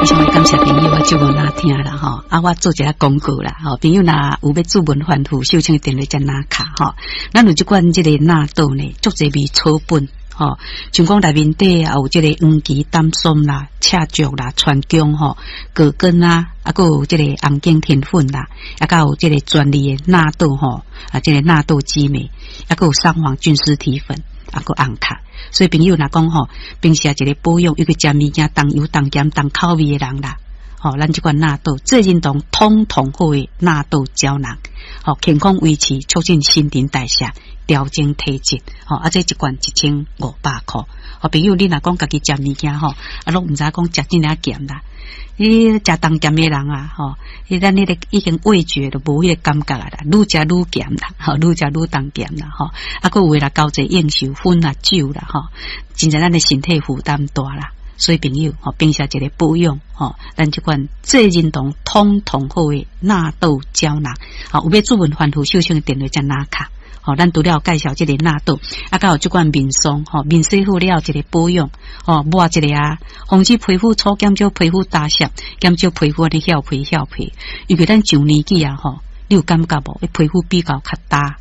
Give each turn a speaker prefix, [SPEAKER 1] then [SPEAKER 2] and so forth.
[SPEAKER 1] 非常感謝朋友我節目若聽啦吼，啊，我做一下廣告啦吼，朋友若有欲注文反覆，秀清的電話才拿卡吼。咱有這款這個納豆呢，足濟味草本吼，像講內面底也有這個黃芪、丹參啦、赤石啦、川芎吼、葛根啊，啊，閣有這個紅景天粉啦，啊，閣有這個專利的納豆吼，啊，這個納豆激酶，啊，閣有桑黃菌絲體粉，啊，閣紅卡。所以朋友若講吼，平時一個保養，尤其食物件重油、重鹹、重口味的人啦，吼，咱這款納豆濟仁堂通通好的納豆膠囊，吼，健康維持，促進新陳代謝，調整體質，吼，啊，這一罐1500箍。吼，朋友你若講家己食物件吼，啊，攏毋知講食真爾鹹啦，你食重鹹的人啊，吼，你咱彼個已經味覺都無彼個感覺啊啦，愈食愈鹹啦，吼，愈食愈重鹹啦，吼，啊，閣有的啦，交際應酬薰啦酒啦，吼，真正咱的身體負擔大啦。所以朋友，吼，平時一個保養，吼，咱這款濟仁堂通通好的納豆膠囊，吼，有欲注文反覆秀清的電話才拿卡。吼，咱除了介紹這個納豆，啊，閣有這款面霜，吼，面洗好了一個保養，吼，抹一下啊，防止皮膚粗，減少皮膚打濕，減少皮膚按呢翹皮翹皮。因為咱上年紀啊，吼，你有感覺無？皮膚比較較焦。